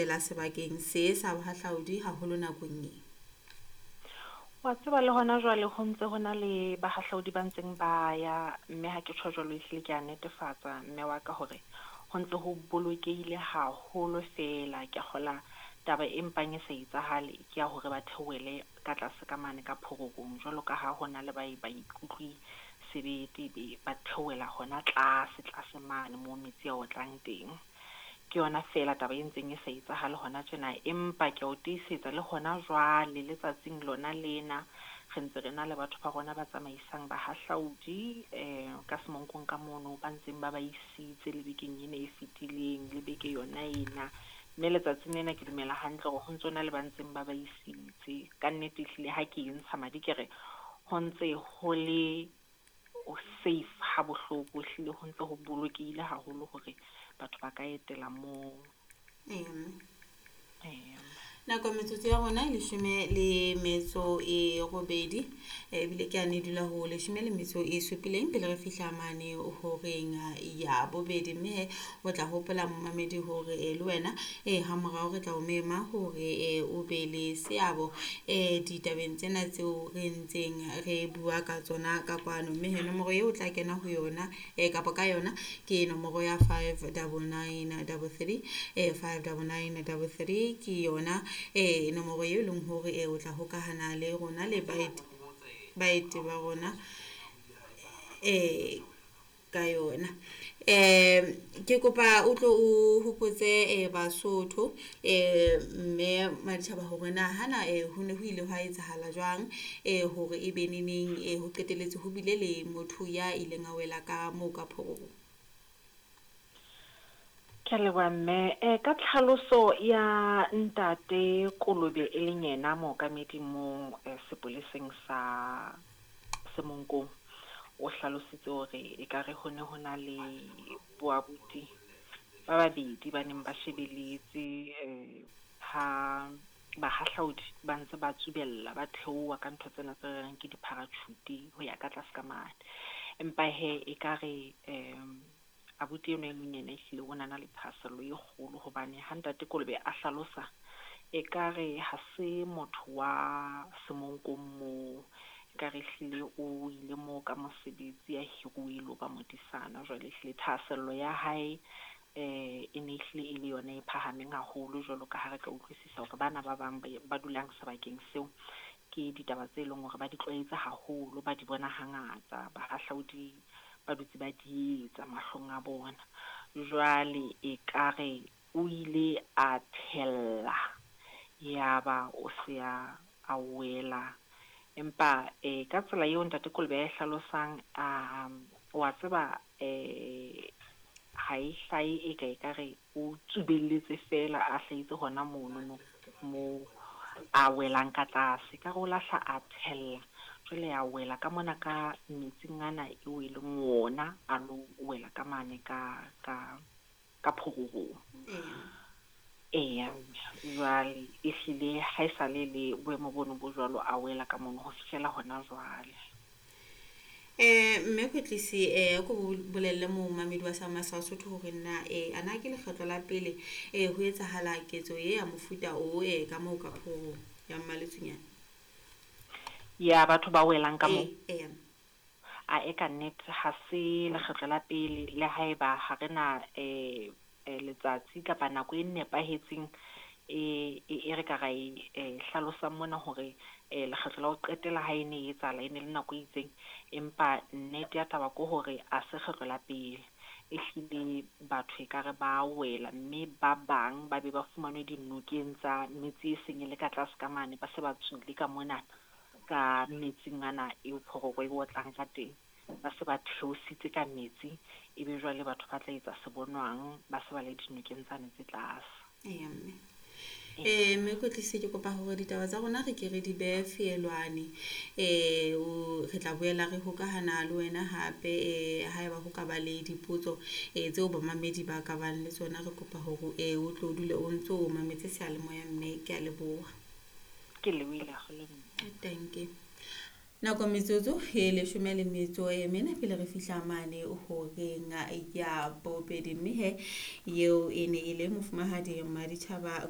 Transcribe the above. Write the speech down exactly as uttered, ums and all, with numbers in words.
etela sebakeng se sa bohahlaudi haholo nakong e? Wa tseba le hona jwale ho ntse ho na le bahahlaudi ba ntseng ba ya, mme ha ke tjho jwalo ehlile ke a netefatsa mme wa ka hore ho ntse ho bolokehile haholo fela. Ke kgola taba e mpang e sa etsahale ke ya hore ba theohele ka tlase ka mane ka phororong, jwalo ka ha hona le ba ba ikutlwe sebete be ba theohela hona tlase tlase mane moo metsi a otlang teng. Ke yona fela taba e ntseng e sa etsahale hona tjena, empa ke a o tiisetsa le hona jwale le tsatsing lona lena re ntse re na le batho ba rona ba tsamaisang bahahlaudi um ka Semonkong ka mono, ba ntseng ba ba isitse le bekeng ena e fetileng le beke yona ena. Mme letsatsing lena ke dumela hantle hore ho ntso na le ba ntseng ba ba isitse. Ka nnete ehlile ha ke e ntsha madi ke re ho ntse ho le safe ha bohloko, ehlile ho ntse ho bolokehile haholo hore batho ba ka etela moo. Eya mme. Eya. Nako metsotso ya rona e leshome le metso e robedi, ebile ke a ne dula ho leshome le metso e supileng pele re fihla mane horeng ya bobedi. Mme he o tla hopola momamedi hore le wena e ha morao re tla o mema hore o be le seabo e ditabeng tsena tseo re ntseng re bua ka tsona ka kwano. Mme he nomoro eo o tla kena ho yona e kapa ka yona ke nomoro ya five double nine double three, five double nine double three ke yona e nomoro eo e leng hore e o tla hokahana le rona le baeti baeti ba rona e ka yona. Um ke kopa o tlo o hopotse eh Basotho eh mme Maditjhaba hore na hana eh ho ne ho ile hwa etsahala jwang eh hore e be neneng eh ho qetelletse ho bile le motho ya ileng a wela ka moo ka phororong. Ke a leboha mme. Eh ka tlhaloso ya ntate Kolobe e leng yena mookamedi mo sepoleseng sa Semonkong, o hlalositse hore ekare ho ne ho na le bo abuti ba babedi ba neng ba shebeletse eh ha bahahlaudi ba ntse ba tsubella, ba theoha ka ntho tsena tse reng ke di-parachute ho ya ka tlase ka mane. Empa hee ekare um abuti enwa e mong yena ehlile o na na le thahasello e kgolo hobane ha ntate Kolobe a hlalosa, ekare ha se motho wa Semonkong moo, ekare ehlile o ile moo ka mosebetsi a hiruwe e lo ba modisana. Jwale ehlile thahasello ya hae eh e ne ehlile e le yona e phahameng haholo, jwalo ka ha re ka utlwisisa hore bana ba bang ba dulang sebakeng seo ke ditaba tse leng hore ba di tlwaetse haholo, ba di bona hangata, bahahlaudi ba dutse ba di etsa mahlong a bona. Jwale ekare o ile a thella, ya ba o se a, a wela. Empa eh ka tsela eo ntate Kolobe a e hlalosang, a wa tseba eh ha e hlahe e ka ekare o tsubelletse fela a hlahetse hona monono moo a welang ka tlase. Ekare o lahla a thella, jwale a wela ka mona ka metsing ana eo e leng ona a lo wela ka mane ka ka ka phororong. Eya, jwale ehlile ha e sale le boemo bono bo jwalo, a wela ka mono ho fihlela hona jwale. Eh mme Kwetlisi eh ko bolelle momamedi wa sa Sesotho hore na eh ana ke lekgetlo la pele eh ho etsahala ketso e ya mofuta o e ka moo ka phororong ya Mmaletsonya? Ya batho ba welang ka moo. Eh, eh. A e ka nnete ha se lekgetlo la pele, le haeba ha re na eh letsatsi kapa nako e nepahetseng e e re ka ra e hlalosang mona hore eh lekgetlo la ho qetela ha e ne e etsahala e ne le nako e itseng, empa nnete ya taba ke hore ha se kgetlo la pele. Ehlile batho ekare ba wela, mme ba bang ba be ba fumanwe dinokeng tsa metse e seng e le ka tlase ka mane, ba se ba tswile ka mona ka metsing ana eo phororo e otlang ka teng. Ba se ba theositse ka metsi, ebe jwale batho ba tla etsa se bonwang, ba se ba le dinokeng tsane tse tlase. Eya mme. Eh mme Kwetlisi ke kopa hore ditaba tsa rona re ke re di behe feelwane. Eh o re tla boela re hokahana le wena hape eh haeba ho ka ba le dipotso eh tseo bamamedi ba ka bang le tsona, re kopa hore eh o tlo dule o ntso o mametse seyalemoya mme ke a leboha. Ke lebohile haholo mme. Thank you. Nako metsotso e leshome le metso e mene pele re fihla mane horeng ya bobedi, mme he eo e ne e le mofumahadi Maditjhaba.